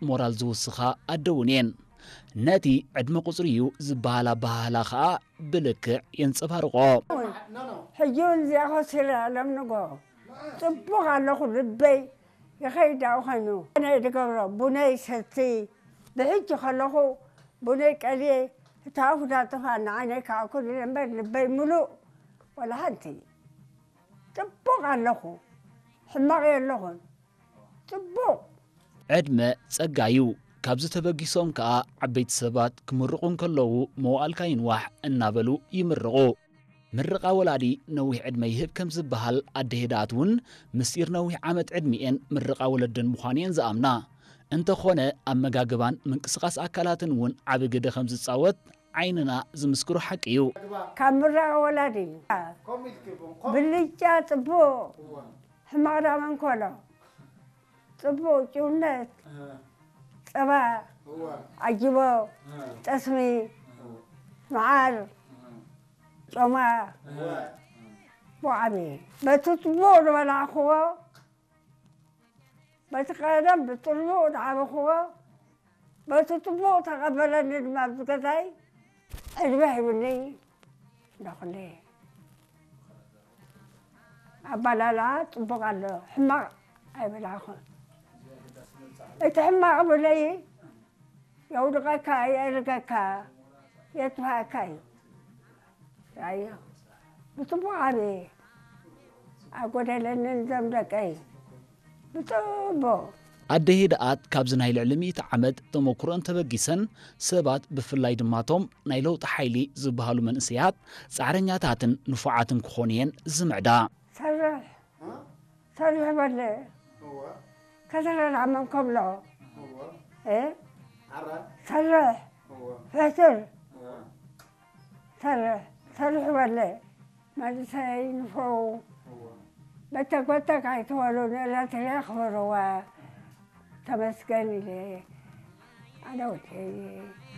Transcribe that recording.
ሞራል ዝውስኻ ኣደ እውን እየን። ነቲ ዕድመ ቁጽሪ እዩ ዝበሃል ኣበሃህላ ኸኣ ብልክዕ የንጸባርቖ። ሕጂ እውን እዚኣ ኮሲረ ለምንጎ ጽቡቕ ኣለኹ። ልበይ ይኸይድ ኣብኡ ኮይኑ ኣነ ድገብሮ ቡነይ ሰቲ ብሕጂ ከለኹ ቡነይ ቀልየ እታ ኣፉ ዳጥፋ ንዓይነይ ከኣኩል እምበር ልበይ ምሉእ ወላ ሓንቲ ጽቡቕ ኣለኹ። ሕማቕ የለኹን። ጽቡቕ። ዕድመ ጸጋ እዩ። ካብዚ ተበጊሶም ከኣ ዓበይቲ ሰባት ክምርቑ እንከለዉ መዋእልካ ይንዋሕ እናበሉ ይምርቑ። ምርቓ ወላዲ ነዊሕ ዕድመ ይህብ ከም ዝበሃል ኣደ ሄድኣት እውን ምስጢር ነዊሕ ዓመት ዕድሚኤን ምርቓ ወለደን ምዃኑ እየን ዝኣምና። እንተኾነ ኣመጋግባን ምንቅስቓስ ኣካላትን እውን ዓቢ ግደ ከም ዝጻወት ዓይንና ዝምስክሮ ሓቂ እዩ። ካብ ምረቓ ወላዲ እዩ። ብልጫ ጽቡቕ ሕማቕ ዳመንኮሎ ጽቡቕ ጭውነት ጸባ ዓጅቦ ጠስሚ መዓር ጮማ ብዓቢ በቲ ጽቡቕ ዝበላዕኽዎ በቲ ቀደም ብጽቡቕ ዝዓበኽዎ በቲ ጽቡቕ ተቐበለኒ ድማ ኣብዚ ገዛይ ዕድመ ሂብኒ እንዳኹለ ኣባላልዓ ጽቡቕ ኣሎ ሕማቕ ኣይበላዕኹን እቲ ሕማቕ ብለይ የውድቐካ የእርገካ የጥፍኣካ እዩ ኣዮ ብጽቡቕ ዓብየ ኣጎደለንን ዘም ደቀይ ብጽቡቕ ኣደ ሄድኣት ካብዚ ናይ ልዕሊ ሚእቲ ዓመት ተመኩሮን ተበጊሰን ሰባት ብፍላይ ድማ ቶም ናይ ለውጢ ሓይሊ ዝበሃሉ መንእሰያት ፃዕረኛታትን ንፉዓትን ክኾኑ እየን ዝምዕዳ። ሰርሕ ሰርሕ በለ ከዘረራ መን ከብሎ ሰርሕ ሕስር ሰርሕ ሰርሕ በለ መንእሰይ ንፈው በተጎተክ ኣይትበሉ ንእለት ክበርዋ ተመስገን ኢለ ኣነ ወደይ